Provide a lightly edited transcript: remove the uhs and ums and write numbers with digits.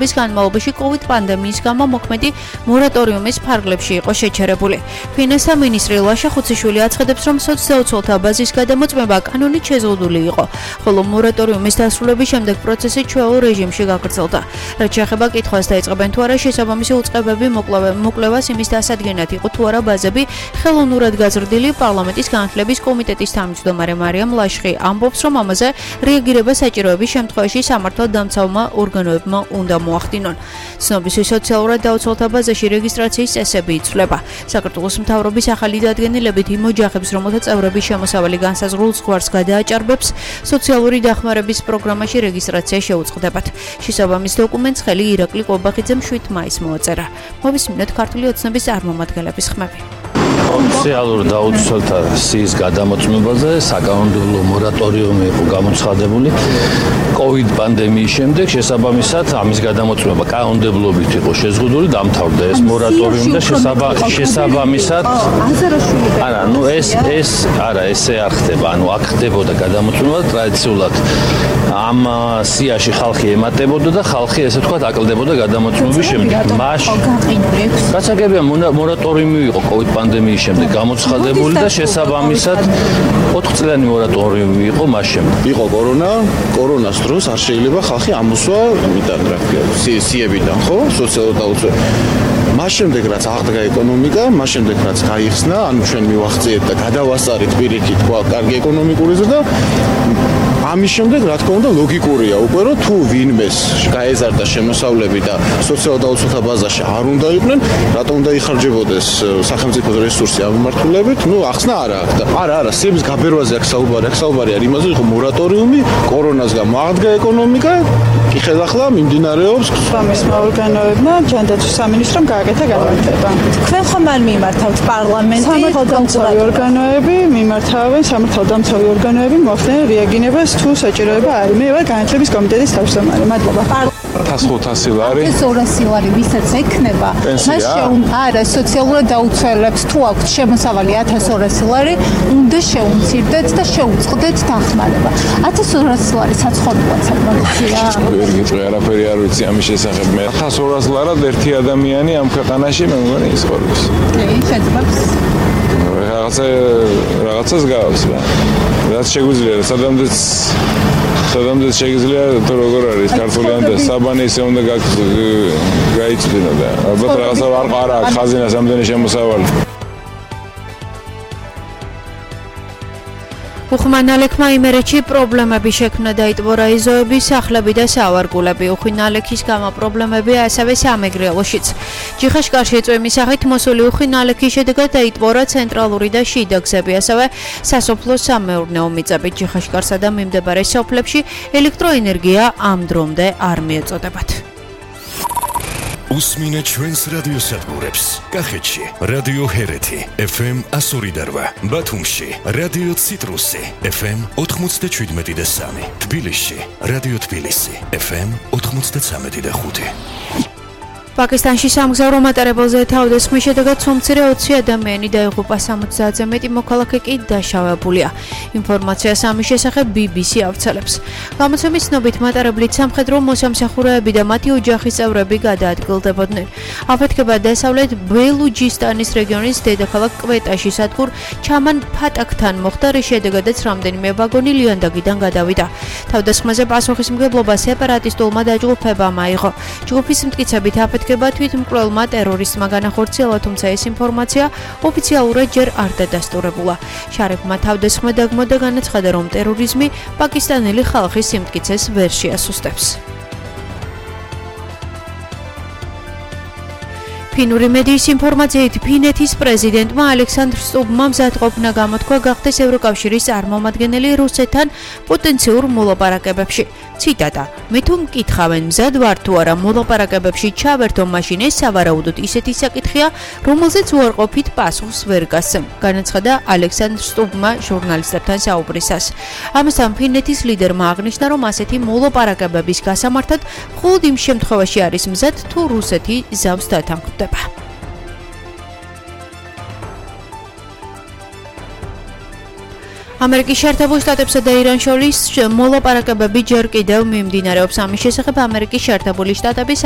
bis განმავლობაში COVID პანდემიის გამო მოქმედი მორატორიუმის ფარგლებში იყო შეჩერებული. ფინანსთა მინისტრი ლაშა ხუციშვილი აცხადებს, რომ სოციალურთა ბაზის გადამოწმება კანონით შეზღუდული იყო, ხოლო მორატორიუმის დასრულების შემდეგ პროცესი ჩვეულ რეჟიმში გაგრძელდა. რაც შეეხება კითხვას დაიწყებენ თუ არა შესაბამისი უწყებები მოკვლევას იმის დასადგენად იყო თუ არა ბაზები ხელოვნურად გაზრდილი. პარლამენტის განათლების კომიტეტის თავმჯდომარე მარიამ ლაშხი ამბობს, რომ ამაზე რეაგირება საჭიროების შემთხვევაში სამართალდამცავმა ორგანოებმა უნდა მოახდინონ. ცნობისთვის სოციალურად დაუცველთა ბაზაში რეგისტრაციის წესები იცვლება. საქართველოს მთავრობის ახალი დადგენილებით იმ ოჯახებს, რომელთა წევრები შემოსავალი განსაზღვრულ ზღვარს გადააჭარბებს, სოციალური დახმარების პროგრამაში რეგისტრაცია შეუწყდებათ. შესაბამის დოკუმენტს ხელი ირაკლი ყობახიძემ 7 მაისს მოაწერა. მოვისმინოთ ქართული ოცნების წარმომადგენლების ხმები. სოციალურ დაუცველთა სიის გადამოწმებაზე საკანონმდებლო მორატორიუმი იყო გამოცხადებული COVID პანდემიის შემდეგ. შესაბამისად, ამის გადამოწმება კანონმდებლობით იყო შეზღუდული, დამთავრდა ეს მორატორიუმი და შესაბამისად ესე არ ხდება. აქ ხდებოდა გადამოწმება ტრადიციულად ამ სიაში ხალხი ემატებოდა და ხალხი ესე თქვა აკლდებოდა გადამოწმების შემდეგ. გასაგებია მორატორიუმი იყო COVID პანდემიის შემდეგ გამოცხადებული და შესაბამისად 4 წლიანი მორატორიუმი იყო მას შემდეგ. იყო კორონას დროს არ შეიძლება ხალხი ამოსვა იმიდან რა ქვია სიებიდან, ხო? სოციალურ დაუცველად. მას შემდეგ რაც აღდგა ეკონომიკა, მას შემდეგ რაც გაიხსნა, ანუ ჩვენ მივახციეთ და გადავასწარით პირიქით კარგი ეკონომიკური ზრდა. ამის შემდეგ რა თქმა უნდა ლოგიკურია უკვე რომ თუ ვინმეს გაეზარდა შემოსავლები და სოციალურ დაუცველთა ბაზაში არ უნდა იყვნენ, რატომ უნდა იხარჯებოდეს სახელმწიფოს რესურსი ამ მიმართულებით? ახსნა არა აქვს და არა, სიების გაბერვაზე აქვს საუბარი არის იმაზე, რომ მორატორიუმი კორონას გამო აღდგა ეკონომიკა, კი ხელახლა მიმდინარეობს სამისმა ორგანოებმა ჯანდაცვის სამინისტრომ გააკეთა გადაწყვეტილება. თქვენ ხომ არ მიმართავთ პარლამენტი? სამართალდამცავი ორგანოები მიმართავენ, სამართალდამცავი ორგანოები მოახდენენ რეაგირებას თუ საჭიროება არის. მე ვარ განათლების კომიტეტის თავმჯდომარე. მადლობა. 1500 ლარი. 200 ლარი ვისაც ექნება, მას არა სოციალურად დაუცველებს თუ აქვთ შემოსავალი 1200 ლარი, უნდა შეუმცირდეთ და შეუწყდეთ დახმარება. 1200 ლარი საცხოვრებლად საკმარისია. ვერ გიწყე არაფერი არ ვიცი ამის შესახებ. მე 1200 ლარად ერთი ადამიანი ამ ქვეყანაში მე მგონი ისწორებს. შეიძლება რაღაცას გავს რა. რაც შეგვიძლია სადამდეც შეიძლება თუ როგორ არის ქართულიან და საბანი ისე უნდა გაიწვდინო და ალბათ რაღაცა არ აქვს ხაზინას ამდენი შემოსავალი. უხმანალექმა იმერეთში პრობლემები შექმნა დაიტბო რაიზოების სახლები და სავარგულები. უხმანალექის გამო პრობლემები ასევე სამეგრელოშიც. ჯიხაშკარში ეწვევის მისაღით მოსული უხმანალექის შედეგად დაიტბორა ცენტრალური და შიდა გზები, ასევე სასოფლო სამეურნეო მიწები. ჯიხაშკარსა და მიმდებარე სოფლებში ელექტროენერგია ამ დრომდე არ მიეწოდებათ. უსმინეთ ჩვენს რადიოსადგურებს. კახეთში რადიო ჰერეთი FM 102.8, ბათუმში რადიო ციტრუსი FM 97.3, თბილისში რადიო თბილისი FM 93.5. პაკისტანში სამგზავრო მატარებელზე თავდასხმის შედეგად სომცირე 20 ადამიანი დაიღუპა, 70-ზე მეტი მოქალაქე კი დაშავებულია. ინფორმაციას ამის შესახებ BBC ავრცელებს. გამოცემის ცნობით მატარებლით სამხედრო მოსამსახურეები და მათი ოჯახის წევრები გადაადგილდებოდნენ. აფეთქება დასავლეთ ბელუჯისტანის რეგიონის დედაქალაქ კვეტაში სადგურ ჩამან ფატაკთან მოხდა, რის შედეგადაც რამდენიმე ვაგონი ლიანდაგიდან გადავიდა. თავდასხმაზე პასუხისმგებლობა სეპარატისტულმა დაჯგუფებამ აიღო. ჯგუფის მტკიცებით აფეთქება თვითმკვლელმა ტერორისტმა განახორციელა, თუმცა ეს ინფორმაცია ოფიციალურად ჯერ არ დადასტურებულა. შარიფმა თავდასხმა დაგმო და განაცხადა, რომ ტერორიზმი პაკისტანელი ხალხის სიმტკიცეს ვერ შეასუსტებს. ფინური მედიის ინფორმაციით ფინეთის პრეზიდენტმა ალექსანდრ სტუბმა მზადყოფნა გამოთქვა გახდეს ევროკავშირის წარმომადგენელი რუსეთთან პოტენციურ მოლაპარაკებებში. ციტატა: მე თუ მკითხავენ მზად ვარ თუ არა მოლაპარაკებებში ჩავერთო, მაშინ ეს სავარაუდოდ ისეთი საკითხია, რომელზეც უარყოფით პასუხს ვერ გასცემ, განაცხადა ალექსანდრ სტუბმა ჟურნალისტებთან საუბრისას. ამასთან ფინეთის ლიდერმა აღნიშნა, რომ ასეთი მოლაპარაკებების გასამართად მხოლოდ იმ შემთხვევაში არის მზად, თუ რუსეთი ზავს დათანხმდება. ამერიკის შეერთებულ შტატებსა და ირანს შორის მოლაპარაკებები ჯერ კიდევ მიმდინარეობს. ამის შესახებ ამერიკის შეერთებული შტატების